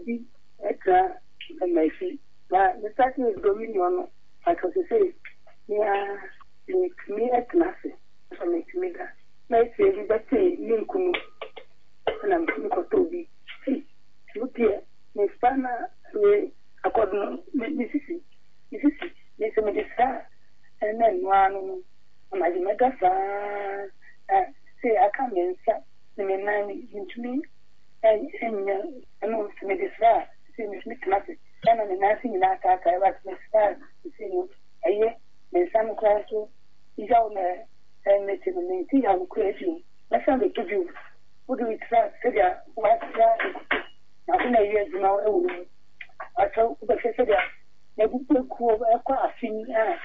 obi tena m'akyi. Na me startee Dominion no, pakyɛw sesei me ara metumi tena ase, nso metumi da. Na akyire bi bɛtee me nkunu na metumi kɔtɔɔ bi. Ei, ɛno deɛ me spinal wei akɔdo no, me sisi, me sisi, me sɛ mede saa ɛna ɛno ara no no, anadwo mɛda saa na sesei aka me nsa ne me nan mentumi nyɛ ɛno sɛ mede sra a, sesei metumi tena ase. Ɛna me nan ase nyinaa taatae but me sra a sesei no ɛyɛ, me nsa no koraa nso yaw na mete no, mente yaw no koraa bio. Mɛsan bɛtɔ bio. Wode wo tra sɛdeɛ woasra nkuto na afei na ɛyɛ adwuma wɔ wo mu. Akyɛ wobɛhwɛ sɛdeɛ m'abubuakuo ɛkɔ afe ni a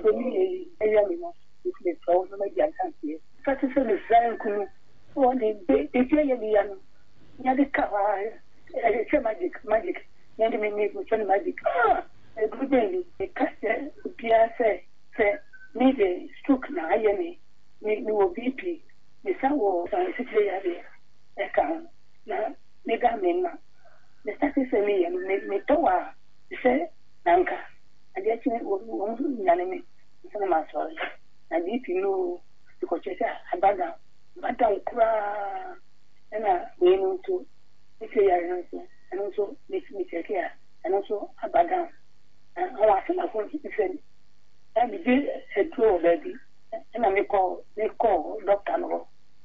dominion yi ɛyɛ me no, nti mesrɛ wo na madi adanseɛ. Fa te sɛ mesra nku no wɔ ne baabi a ɛyɛ me ya no, na de ka hɔ ara, ɛyɛ sɛ magic, magic, na ɛde me mefrɛ no magic. Ah! Aduru bɛn ni? Meka kyerɛ obiara sɛ, sɛ me deɛ stroke na ayɛ me, me mewɔ BP, mesan wɔ asikyire yareɛ ɛka ho, na meda me mma. Me starte sɛ meyɛ no, me metɔ wɔ a te sɛ nanka adeɛ kye wɔn nyane me ansa na masɔre. Na BP no o, mekɔkyerɛ sɛ aba down, aba down koraa. Ɛna wei no nso, asikyire yareɛ no nso, ɛno nso me me kyɛke a, ɛno nso aba down. Na wɔn asɛm baako nso sɛ, na megye aduro wɔ baabi. Ɛna mekɔɔ mekɔɔ dɔkta no hɔ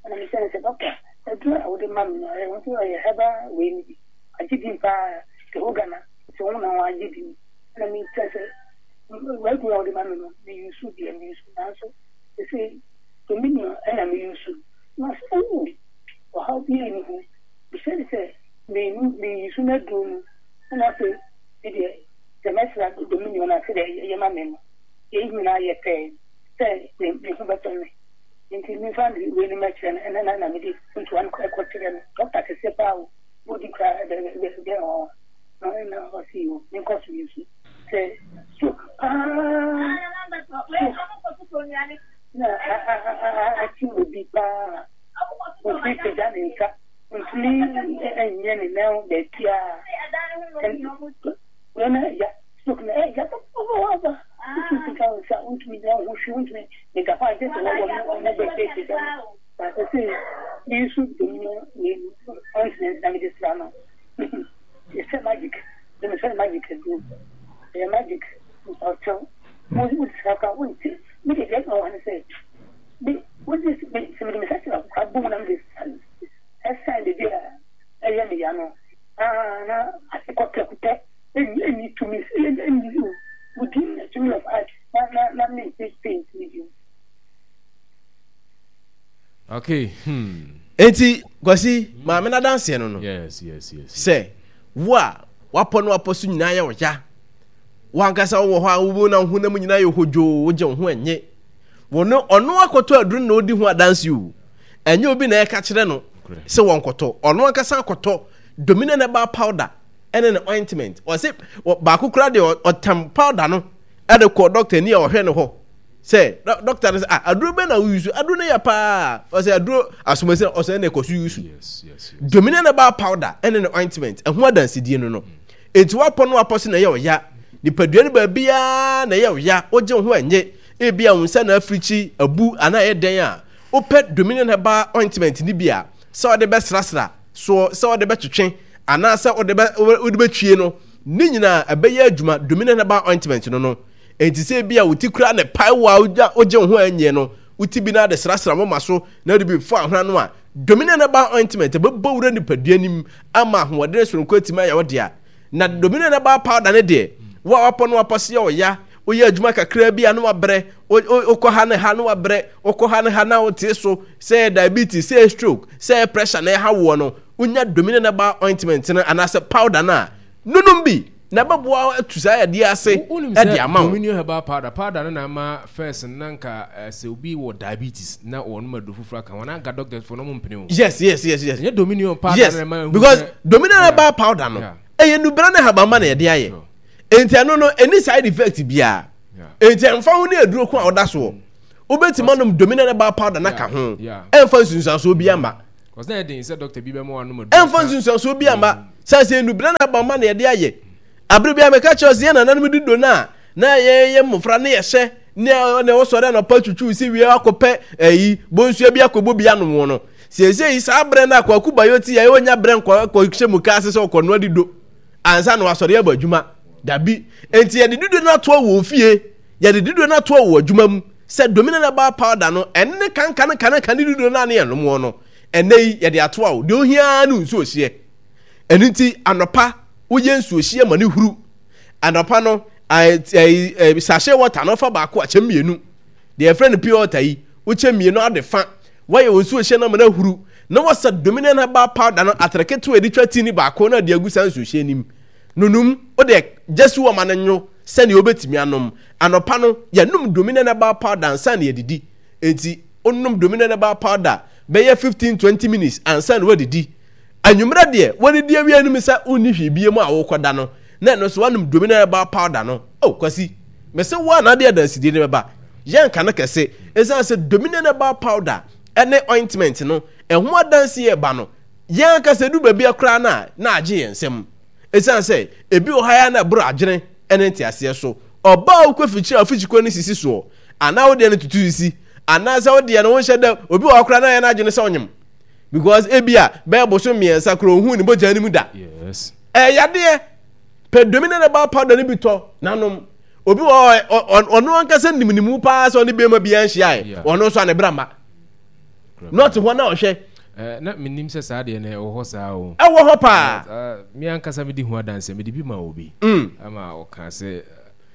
ɛna mehyɛ no sɛ dɔkta aduro a wode ma me no ɛyɛ nso ɛyɛ herbal wei no bi agye din paa the whole Ghana nti wɔn na wɔn agye din ɛna mekyɛ sɛ w'aduro a wode ma me no me use deɛ me use nanso ɛsɛ dominion ɛna me use na ɔsɛ oo ɔhaw bi ɛni ho mehyɛ no sɛ me me use m'aduro no ɛna afei me deɛ sɛ mɛsra dominion na sɛ deɛ ɛyɛ ma me no yɛn nyinaa yɛ pɛɛ sɛ me me ho bɛtɔ me nti memfa me wei no mɛkyerɛ no ɛna na na mede ntoa no kɔkyerɛ no dɔkta kɛseɛ paa o bɔdi koraa ɛbɛ ɔ na ɛna ɔse o menkɔ so nsu sɛ stroke paa stroke na akyi obi paa ɔtumi pagya ne nsa ɔntumi nyɛ ne nan baabiaa wei na ya Stroke no ɛyɛ papaapa. Wotumi pagya wo nsa, wontumi nyɛ wo ho hwee, wontumi meda hɔ a gye sɛ wɔwɔ mo wɔn bɛpagya me. But sɛ me nso dom no wei no ointment na mede sra no. Ɛsɛ magic, de me sɛ magic aduro. Ɛyɛ magic, ɔkyɛw. Wo wo sra koraa wonte. Me de deɛ ɛma wɔn sɛ me wode me sɛ mede me nsa kyerɛ koraa bom na mede ɛsan baabi a ɛyɛ me ya no. Ah na ase kɔ prɛko pɛ. Ɛnni tumi ɛnni within the tumi of art na na na me nte paint ne bio. Okay. Hmm. Enti Kwasi, maame no adanseɛ no no. Yes. Sɛ wo a wapɔ no wapɔ so nyinaa yɛ wo ya. Wankasa wowɔ hɔ a wo na wo honam nyinaa yɛ hodwoo, wogye wo ho ɛnye. Wɔno ɔno akɔtɔ aduru na ɔdi ho adanse o. Ɛnyɛ obi na ɛka kyerɛ no sɛ wɔnkɔtɔ. Ɔno ankasa akɔtɔ Dominion Herbal Powder ɛne ne ointment. Ɔse baako koraa deɛ ɔtam powder no ɛde kɔ doctor ni a ɔhwɛ no hɔ sɛ doctor no sɛ ah aduro bɛn na wo use aduro no yɛ paa ɔsɛ aduro asomasi na ɔsɛ ɛna ɛkɔ so use Dominion Herbal Powder ɛne ne ointment ɛho adansedie no no enti wapɔ no wapɔ so na ɛyɛ ɔya nipadua no baabiara na ɛyɛ ɔya wogye wo ho ɛnye ebi a wo nsa na afirikyi abu anaa ɛyɛ dɛn a wopɛ Dominion Herbal ointment no bi a sɛ ɔde bɛsrasra soɔ sɛ wode bɛtwetwe anaasɛ wode bɛ wode bɛtwie no ne nyinaa ɛbɛyɛ adwuma Dominion Herbal Ointment no no enti sɛ ebi a wo ti kura ne pae wo a wogya wogye wo ho anyɛ no wo ti bi na de srasra moma so na wode bi fɔ ahona no a Dominion Herbal Ointment ɛbɛbɔ wura nipadua nim ama ahoɔden soronko atumi ayɛ wo dea na Dominion Herbal Powder ne deɛ wo a wapɔ no wapɔ se yɛ ɔya woyɛ adwuma kakraa bi a na wabrɛ wokɔ ha ne ha na wabrɛ wokɔ ha ne ha na wote so sɛ ɛyɛ diabetes sɛ ɛyɛ stroke sɛ ɛyɛ pressure na ɛha woɔ no wonya Dominion Herbal ointment no anaasɛ powder no a nonom bi na ɛbɛboa atu saa yadeɛ ase ɛde ama wo. Dominion Herbal powder powder no na ama first no na nka eh, sɛ obi wɔ diabetes na wɔnom aduro foforɔ aka ho na nka doctors fo no ɔmo mpene o. Yes. Ɛnyɛ Dominion powder yes no na ɛma ehu because sɛ Dominion Yeah. Herbal powder no Yeah. ɛyɛ nubra ne habamma na yɛde ayɛ Sure. enti ɛno no ɛni side effect biara Yeah. enti ɛmfa ho ne aduro ko a ɔda soɔ wobɛtumi anom Dominion Herbal powder no aka ho Yeah. ɛmfa nsunsuansoɔ bi ama. Ɛmfa nsunsuansoɔ bi amma. Sɛ sɛ nnubena na aba ma na yɛde ayɛ. Abere bi a meka kyerɛ sɛ yɛn nananom di do no a na yɛyɛ mmofra ne yɛhyɛ ne na wɔsɔre anɔpa twitwiw si wie akɔpɛ ayi bonsua bi akɔbɔ bi anom wɔ no. Seesei yi saa berɛ no a Kwaku Bayo te yɛ ɔnya berɛ nkɔ kɔhyɛ mu kaa ase sɛ ɔkɔnoa dido ansa na wasɔre abɔ adwuma. Dabi. Enti yɛde dido no atoa wɔ ofie, yɛde dido no atoa wɔ adwuma mu sɛ Dominion Herbal Powder no ɛne ne kanka ne kanka ne dido no a ne yɛnom wɔ no. Ɛnnɛ yi yɛde atoa wo. Deɛ ohia ara ne nsuo hyeɛ. Ɛno nti anɔpa woyɛ nsuo hyeɛ ma ne huru. Anɔpa no sachet water no fa baako akyɛ mmienu. Deɛ yɛfrɛ no pure water yi wokyɛ mmienu ade fa. Woayɛ wo nsuo hyeɛ no ama no ahuru na wasa Dominion herbal powder no atere ketewa a yɛde twa tea no baako na ade agu saa nsuo hyeɛ no mu. Nonum, wode gya si hɔ ma no nwo sɛdeɛ wobɛtumi anom. Anɔpa no yɛnom Dominion herbal powder ansa na yɛadidi. Enti wonom Dominion herbal powder bɛyɛ 15, 20 minutes ansa na woadidi. Anwummerɛ deɛ, woadidi awie anom sɛ wonni hwee bie mu a worekɔda no, na ɛno nso woanom Dominion herbal powder no. Oh, Kwasi, mese wo a na ade adansedie no bɛba. Yɛnka no kɛse. Ɛsiane sɛ Dominion herbal powder ne ointment no, ɛho adanseɛ reba no, yɛn ankasa ɛdu baabi a koraa no a, na agye yɛn nsam. Ɛsiane sɛ ebi wɔ ha a na ɛboro adwene ne nteaseɛ so. Ɔbaa a wokɔ afikyiri a afikyikɔ no sisi soɔ, anaa wo deɛ no tutu sisi, anaasɛ wo deɛ no wonhyɛ da, obi wɔ hɔ koraa na ayɛ n'adwene sɛ ɔnyem. Because ebi a bɛyɛ bosom mmiɛnsa koraa ohuu ne mogya no mu da. Yes. Ɛyɛ yadeɛ. Pɛ Dominion herbal powder no bi tɔ na nom. Obi wɔ hɔ ɔno ankasa nim ne mu paa sɛ ɔne bɛrima biara nhyiae. Ɔno nso a ne bra mma. Na ɔte hɔ na ɔhwɛ. Eh, na menim sɛ saa deɛ no ɛwɔ hɔ saa o. Ɛwɔ hɔ paa. Eh, eh, me ankasa medi ho adanseɛ, mede bi ma obi. Ama ɔka sɛ,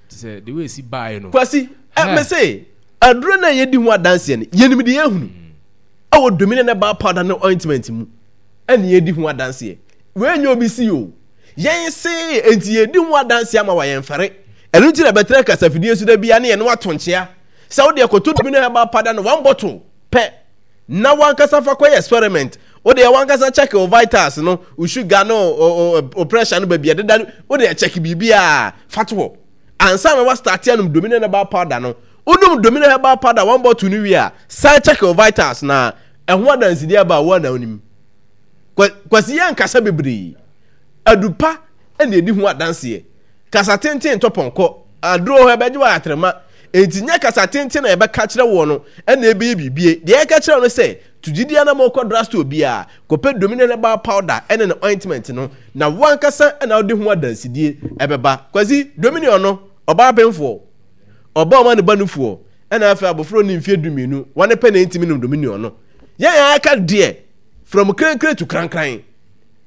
te sɛ the way esi baeɛ no. Kwasi, eh, me se, aduro no a yɛdi ho adanseɛ no, yɛnim deɛ yɛahunu. Ɛwɔ Dominion herbal powder ne ointment mu ɛne yɛdi ho adanseɛ. Wei nyɛ obi si o. Yɛn se enti yɛdi ho adanseɛ ama wa yɛn fɛre. Ɛno nti na bɛtena kasafidie so da bia ne yɛne wato nkyea. Sɛ wo deɛ kɔtɔ Dominion herbal powder no one bottle pɛ na wankasa fa kɔyɛ experiment. Wo deɛ wankasa check wo vitals no, wo sugar no, wo pressure no baabi ɛdeda no, wo deɛ check biribiara fa to hɔ. Ansa na wa start anom Dominion herbal powder no, Wonom Domino herbal powder one bottle no wie a, san check wo vitals na ɛho adansedie aba a wo a na wonim. Kwasi yɛ nkasa bebree. Adu pa na ɛdi ho adanseɛ. Kasa tenten ntɔ pɔnkɔ. Aduro hɔ ɛbɛgye wo ayatrema. Enti nyɛ kasa tenten na yɛbɛka kyerɛ woɔ no na ɛbɛyɛ biribie. Deɛ yɛka kyerɛ wo no sɛ, to gyidie anamɔ kɔ drugstore biara, kɔpɛ Domino herbal powder ne ne ointment no na wo ankasa na wode ho adansedie ɛbɛba. Kwasi, Dominion no, ɔbaa pemfoɔ. Ɔba a ɔma ne ba nufoɔ, ɛna afei abɔfra ɔnni mfeɛ dumienu, wɔne pɛ na ɛntumi nom dominion no. Yɛn a aka deɛ, from krenkren to krankran,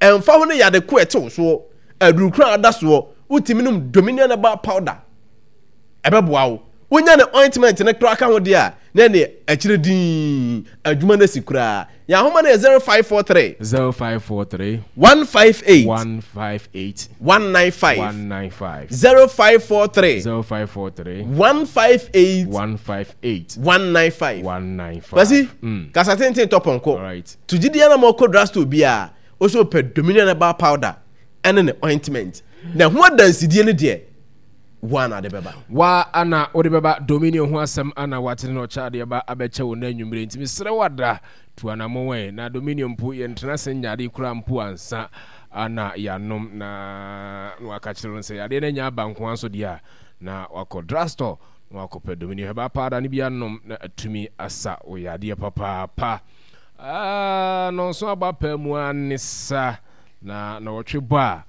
ɛmfa ho ne yade ko ɛte wo soɔ, aduru koro a ada soɔ, wotumi nom dominion herbal powder, ɛbɛboa wo. Wonya ne ointment no koraa ka ho deɛ a, na ɛne akyire dinn, adwuma no asi koraa. Yɛn ahoma no yɛ 0543. 0543. 158. 158. 195. 195. 0543. 0543. 158. 158. 195. 195. Kwasi, kasa tenten tɔ pɔnkɔ. Alright. To gyidi ana ma ɔkɔ drugstore biara, ɔsɛ ɔpɛ Dominion herbal powder ɛne ne ointment. Na ɛho adansidie no deɛ, wo ana de bɛba. Wa ana wode bɛba. Dominion ho asɛm ana watene na ɔkyɛ adeɛ ba abɛkyɛ wo na anwummere nti mesrɛ wo ada tu anammɔn ɛ na Dominion mpo yɛntena ase nyɛ ade koraa mpo ansa ana yɛanom na na waka kyerɛ no sɛ yadeɛ no anya aba nko ara nso deɛ a na wakɔ drugstore na wakɔpɛ Dominion herbal powder no bi anom na atumi asa wo yadeɛ papaapa. Ah, nɔnso aba paa mu ara ne sa na na wɔtwe bɔ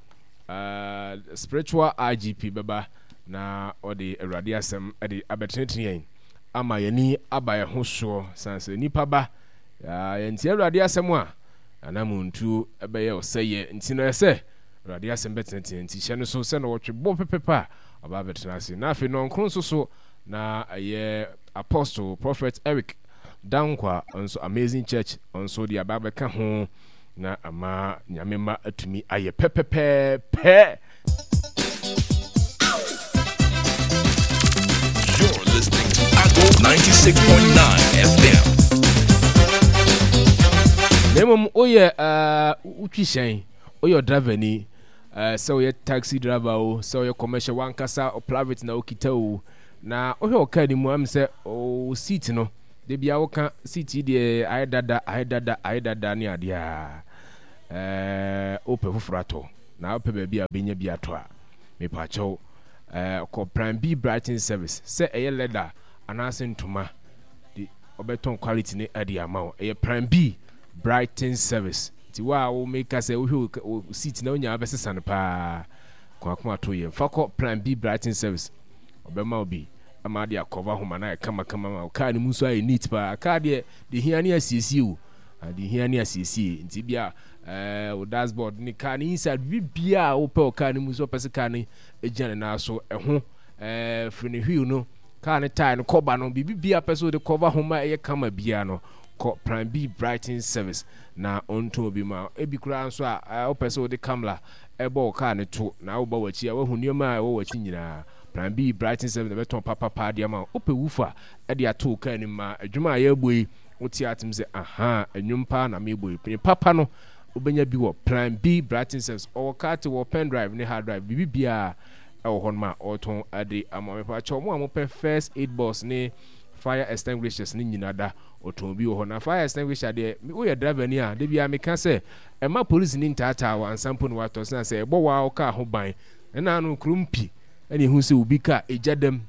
a Spiritual IGP bɛba na ɔde Awurade asɛm de abɛtenetene yɛn ama yɛn ani aba yɛn ho soɔ sane sɛ nipa ba yɛntie Awurade asɛm a anamontuo bɛyɛ ɔsɛeɛ nti no ɛsɛ Awurade asɛm bɛtenetene nti hyɛ no so sɛ na wɔtwe bɔ pɛpɛpɛ a ɔba abɛtena ase na afei nɔnkron nso so na ɛyɛ Apostle Prophet Eric Dankwa nso Amazing Church nso de aba abɛka ho Na ama Nyame mma atumi ayɛ pɛpɛpɛɛpɛ. You're listening to Ago 96.9 FM. Na mmom woyɛ uh, wotwi hyɛn, woyɛ ɔdravani, uh, sɛ woyɛ taxi driver o, sɛ woyɛ commercial wankasa private na wokita o, na wohwɛ wɔ kaa no mu am sɛ wo seat no. Da biara woka seat yi deɛ ayɛ dada, ayɛ dada, ayɛ dada ne adeɛ a, ɛɛ wopɛ foforɔ atɔ na wopɛ baabi a wobɛnya bi atɔ a, mepaakyɛw ɛɛ kɔ Plan B Brighton Service sɛ ɛyɛ leather anaasɛ ntoma de ɔbɛtɔn quality no de ama wo. Ɛyɛ Plan B Brighton Service. Nti wo a wo meka sɛ wohwɛ wo seat na wonya wobɛsesa no paa, kɔ akoma to yam. Fa kɔ Plan B Brighton Service. Ɔbɛma wo bi ama ade akɔva ho ma no ayɛ kamakama ma wo kaa no mu nso ayɛ neat paa. Kaa deɛ, deɛ hia ne asiesie o. Ah, deɛ hia ne asiesie. Nti bia eh, wo dashboard ne kaa no inside, biribiara a wopɛ wɔ kaa no mu sɛ wopɛ sɛ kaa no gyina ne nan so, ɛho eh, firi ne wheel no, kaa no tyre no, kɔba no, biribi biara pɛ sɛ wode kɔva ho ma ɛyɛ kama biara no, kɔ Plan B Brighton Service na ɔntɔn bi ma. Ebi koraa nso a, eh, wopɛ sɛ wode kamla ɛbɔ wo kaa no to na woba w'akyi a, woahu nneɛma a ɛwɔ w'akyi nyinaa. Plan B Brighton Service na ɛbɛtɔn papapa de ama wo. Wopɛ woofer de ato wo kaa no mu ma adwuma a yɛrebɔ yi, wote atem sɛ, Ahaa, nnwom paa na merebɔ yi. Ne papa no, wobɛnya bi wɔ Plan B Brighton Service. Ɔwɔ carte, wɔ pen drive ne hard drive, biribi biara ɛwɔ hɔnom a ɔretɔn de ama wo. Mepakyɛw, mo a mopɛ first aid box ne fire extinguishers no nyina da, ɔtɔn bi wɔ hɔ. Na fire extinguisher deɛ, woyɛ driver ni a, da biara meka sɛ, Mma polisini ntaataa wo ansa mpo na woatɔ sane sɛ ɛbɔ wo ara wo kaa ho ban. Ɛna ano kurom pi ɛna ehu sɛ obi kaa egya dam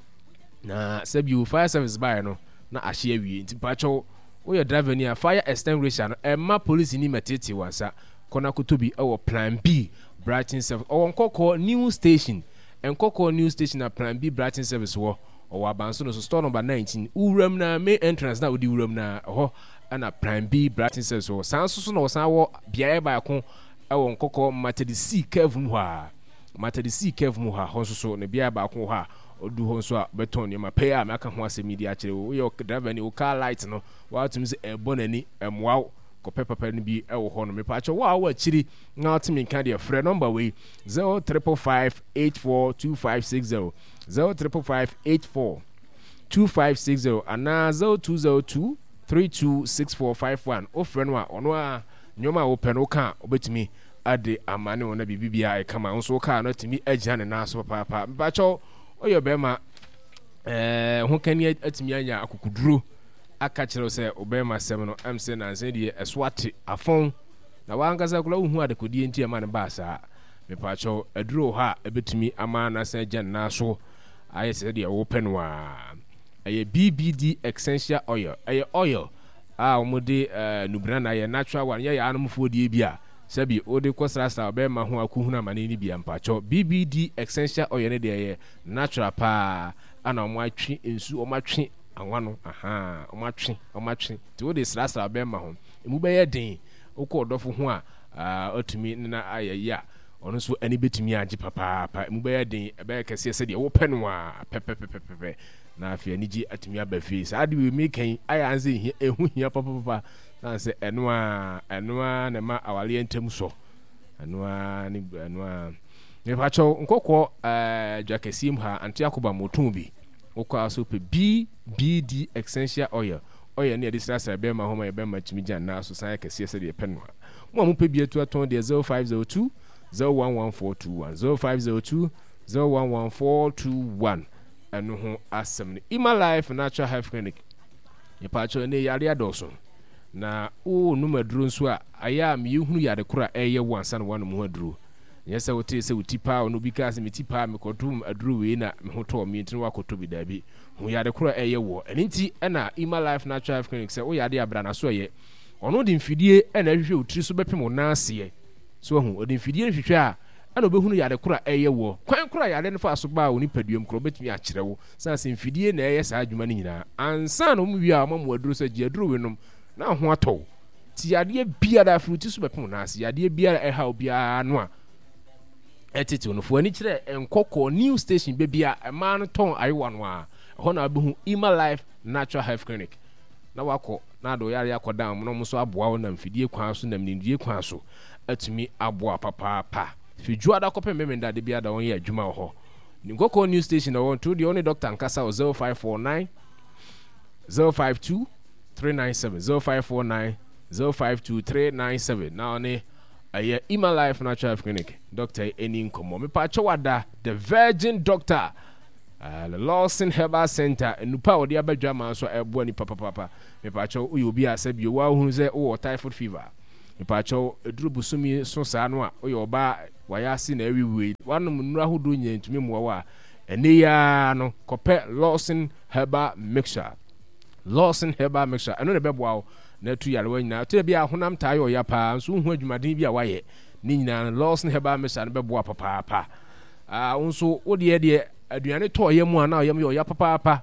na sɛbi o fire service baeɛ no na ahye awie nti mpakyɛw woyɛ driver ni a fire extinguisher no ɛmma polisini mɛtetee wo ansa kɔ na kɔtɔ bi ɛwɔ plan B Brighton service ɔwɔ nkɔkɔɔ new station nkɔkɔɔ new station na plan B Brighton service wɔ ɔwɔ abanso no so store number 19 wowuram na main entrance na wode wuram na ɛhɔ ɛna Plan B Brighton Service wɔ. Saa nso so na wɔsan wɔ beaeɛ baako wɔ Nkɔkɔ Matadisi curve mu hɔ a. Matadisi curve mu hɔ a, hɔ nso so no beaeɛ baako wɔ hɔ a ɔdu hɔ nso a bɛtɔn nneɛma pɛɛ a maka ho asɛm yi de akyerɛ wo. Woyɛ driver ni, wo car light no woatumi sɛ ɛbɔ n'ani, ɛmmoa wo. Kɔpɛ papa no bi wɔ hɔ no. Mepaakyɛw wo a wowɔ akyiri na wote me nka deɛ frɛ nɔmba wei 0555 842560 0555 84 2560 anaa 0202 326451 Wofrɛ no a, ɔno ara nneɛma a wopɛ no woka a, obetumi de ama ne wo na biribi biara ayɛ kama. Wo nso wo kaa no atumi agyina ne nan so papaapa. Mpakyɛw, woyɛ ɔbarima ɛɛ ho kani atumi anya akokoduro aka kyerɛ wo sɛ ɔbarima sɛm no ɛm sɛ nansa deɛ ɛso ate afɔn na wankasa koraa wohu adekodeɛ nti ɛma no baa saa. Mepakyɛw, aduro wɔ hɔ a ɛbɛtumi ama no asan agyina ne nan so ayɛ sɛ deɛ wopɛ no ara. Ɛyɛ BBD essential oil. Ɛyɛ oil a wɔde nubena na ayɛ, natural one, nyɛ yaanomfoɔ deɛ bi a sɛbi wode kɔ srasra ɔbɛrima ho akɔhunu amane no bi a mpakyɛw. BBD essential oil no deɛ ɛyɛ natural paa ana wɔatwe nsu, wɔatwe anwa no, ahaa, wɔatwe, wɔatwe. Nti wode srasra ɔbɛrima ho, emu bɛyɛ den. Wokɔ ɔdɔfo ho a, atumi ne no ayɛ yie a, ɔno nso ani bɛtumi agye papaapa. Emu bɛyɛ den, ɛbɛyɛ kɛseɛ sɛdeɛ wopɛ no ara pɛpɛpɛpɛpɛ, na afei anigye atumi aba fie. Saa ade wei meka yi ayɛ ara sɛ ɛhia, ɛho hia papapapa, sane sɛ ɛno ara, ɛno ara na ɛma awareɛ ntam sɔ. Ɛno ara ne ɛno ara. Mepakyɛw nkɔkɔɔ ɛɛ dwa kɛseɛ mu ha, Ante Akoba motɔn bi. Wokɔ a so pɛ BBD essential oil. Oil ne yɛde srasra bɛrima ho ma yɛ bɛrima tumi gyina nan so san yɛ kɛseɛ sɛdeɛ yɛpɛ no a. Mo a mopɛ bi atu atɔn deɛ 0502 011421 0502 011421 ɛno ho asɛm no. Ima Life Natural Health Clinic mepaakyɛw ɛnɛ yare adɔɔso na wonom aduro nso a ayɛ a meyɛhunu yare koro a ɛyɛ wo ansa na woanom ho aduro. Nyɛ sɛ wotee sɛ wo ti paa ɔno obi kaa sɛ me ti paa mekɔtom aduro wei na me ho tɔɔ me nti na woakɔtɔ bi daabi. Hu yare koro a ɛyɛ woɔ. Ɛno nti na Ima Life Natural Health Clinic sɛ woyɛ adeɛ a bra n'aso ɛyɛ. Ɔno de mfidie na ɛhwehwɛ wo tiri so bɛpem wo nan aseɛ. So wahu? Ɔde mfidie no hwehwɛ a, ɛna ɔbɛhunu yare koro a ɛreyɛ woɔ. Kwan koro a yare no faa so baa wo nipaduam koraa, ɔbɛtumi akyerɛ wo. Sane sɛ mfidie na ɛyɛ saa adwuma no nyinaa. Ansa na wɔwie a, wɔama wo aduro sɛ gye aduro wei nom na wo ho atɔ wo. Nti yadeɛ biara, firi wo ti so bɛpem wo nan ase, yadeɛ biara a ɛha wo biara no a ɛtetew no, fa w'ani kyerɛ Nkɔkɔɔ New Station, baabi a mmaa no tɔn ayewa no ara. Ɛhɔ na wobɛhu Emma Life Natural Health Clinic. Na wakɔ na ade wo yareɛ akɔdan wɔn na wɔn nso aboa wo nam fidie kwan so nam nimdie kwan so atumi aboa papaapa. Firi Dwoada kɔpem Memenda da biara da wɔn yɛ adwuma wɔ hɔ. Nkɔkɔɔ New Station na wɔn nti wo deɛ wo ne dɔkta nkasa wɔ 0549 052 397 0549 052 397 na ɔne ɛyɛ Ima Life Natural Clinic dɔkta yi ani nkɔmmɔ. Mepaakyɛw ada The Virgin Doctor. The Lawson Herbal Center, nnupa a wɔde aba dwa maa nso a ɛboa nipa papaapa. Mepaakyɛw, woyɛ obi a sɛ bio woahunu sɛ wowɔ typhoid fever a, mepaakyɛw, ɛduru bosome so saa no a, woyɛ ɔbaa a wayɛ ase na awiwie, woanom nnuro ahodoɔ nyinaa ntumi mmoa wo a, ɛnnɛ yi ara no, kɔpɛ Lawson Herbal Mixture. Lawson Herbal Mixture, ɛno na ɛbɛboa wo na atu yarewa nyinaa. Ɛtɔ da bi a honam taa yɛ ɔya paa, nso wohu adwumaden bi a woayɛ. Ne nyinaa no, Lawson Herbal Mixture no bɛboa papaapa. Ah, wo nso, wo deɛ deɛ aduane tɔ ɔyam a na ɔyam yɛ ɔya papaapa.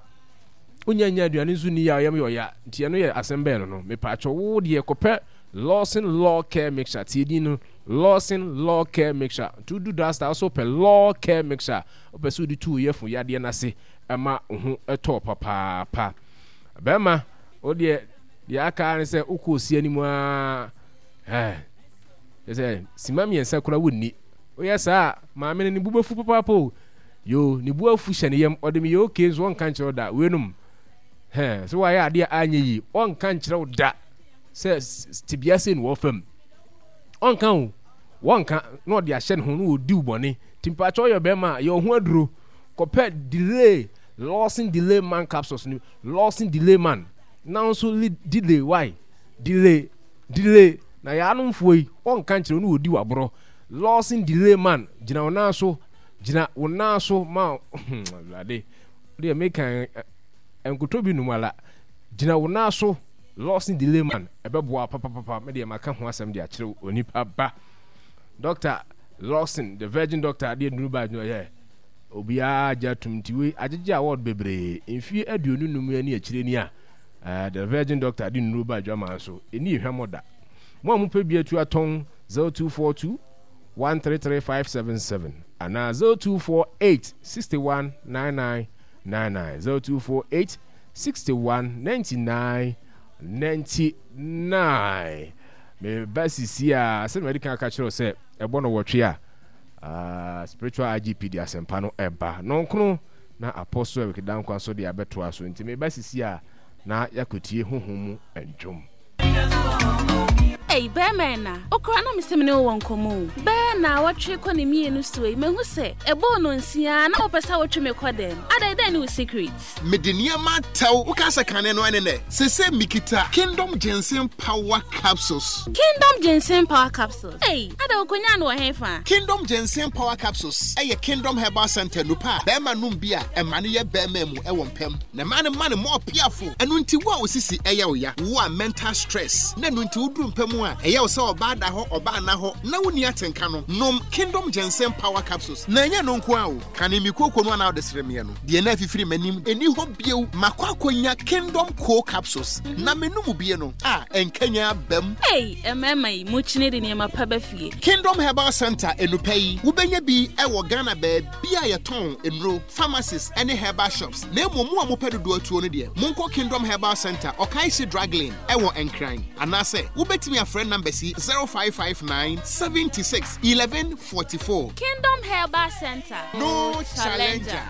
Wonya nya aduane nso nni a ɔyam yɛ ɔya. Nti ɛno yɛ asɛm bɛn no no. Mepaakyɛw, wo deɛ kɔpɛ Lawson Law Care Mixture. Tie din no, Lawson Law Care Mixture. Nti wodu drugstore, wo nso wopɛ Law Care Mixture. Wopɛ sɛ wode tu wo yafunu yadeɛ no ase ma wo ho tɔ papaapa. Bɛrima, wo deɛ deɛ aka ara ne sɛ wokɔ osi anim ara. Ɛɛ, kyerɛ sɛ sima mmiɛnsa koraa wonni. Woyɛ saa a, maame no ne bo bɛfu papaapa o. Yoo, ne bo afu hyɛ ne yam, ɔde me yɛ okay nso ɔnka nkyerɛ wo da. Weinom, hɛn, sɛ woayɛ adeɛ a anyɛ yie, ɔnka nkyerɛ wo da sɛ tebea sei na wɔfa mu. Ɔnka o, wɔnka na ɔde ahyɛ ne ho na ɔdi wo bɔne. Nti mpakyɛ woyɛ bɛrima a, yɛ wo ho aduro. Kɔpɛ delay, Lawson delay man capsules no, Lawson delay man. Na wo nso delay, why? Delay, delay. Na yɛanomfoɔ yi, ɔnka nkyerɛ wo na ɔdi w'aborɔ. Lawson delay man gyina wo nan so gyina wo nan so ma Awurade deɛ meka nkotɔ bi nom ala gyina wo nan so Lawson delay man ɛbɛboa papapapa me deɛ maka ho asɛm de akyerɛ onipa ba Doctor Lawson the virgin doctor adeɛ nuru ba adwuma yɛ obiara gye atum nti wei agyegye award bebree mfie 25 ani akyire ni a the virgin doctor de nuru ba adwama nso ɛni ehwamɔ da mo a mopɛ bi atu atɔn 0242 133 577 anaa 0248 61 99 99 0248 61 99 99 Meba sisi a sɛ madi kan aka kyerɛ wo sɛ ɛbɔ no wɔtwe a uh, spiritual IGP de asɛmpa no ɛba nɔnkono na Apostle Eric Dankwa nso de abɛtoa so nti meba sisi a na yɛakɔtie honhom mu ndwom. Ei, bɛɛma ɛna, okura na mesɛ mene wo wɔ nkɔmmɔ o. Bɛɛ naawɔtwe kɔ ne mmienu soɔ yi, mahu sɛ ɛbɔɔ nonsia na wopɛ sɛ wotwe me kɔ dɛm. Adɛn, dɛn ne wo secret? Mede nneɛma atɛw. Woka sɛ kane no ɛne nɛ. Sese mikita Kingdom Ginseng Power Capsules. Kingdom Ginseng Power Capsules? Ei, adɛn wokonyaa no wɔ hefa? Kingdom Ginseng Power Capsules yɛ Kingdom Herbal Center nnupa a bɛɛma nom bi a ɛma no yɛ bɛɛma mu wɔ mpam. Na ɛma no ma no more piafo. Ɛno nti wo a wo sisi yɛ wo ya, wo a mental stress na ɛno nti woduru mpa mu a ɛyɛ wo sɛ ɔbaa da hɔ ɔbaa nna hɔ na wonni atenka no, nom Kingdom Ginseng Power Capsules. Na ɛnyɛ ɛno nko ara o, kane me kooko no a na wode sere meɛ no, deɛ na afifiri m'anim nni hɔ bio. Makɔ akɔnya Kingdom Coal Capsules na menom bie no a, ɛnkanyan aba mu. Ei, mmarima yi, mokyini de nneɛma pa ba fie. Kingdom Herbal Center nnupɛ yi, wobɛnya bi wɔ Ghana baabi a yɛtɔn nnuro. pharmacies ne herbal shops, na mmom mo a mopɛ dodoɔ atuo no deɛ, monkɔ Kingdom Herbal Centre, Okaishie Drug Lane, ɛwɔ Nkran, anaasɛ wobɛtumi afrɛ numbers yi 0559 76 11 44. Kingdom Herbal Centre, No challenger.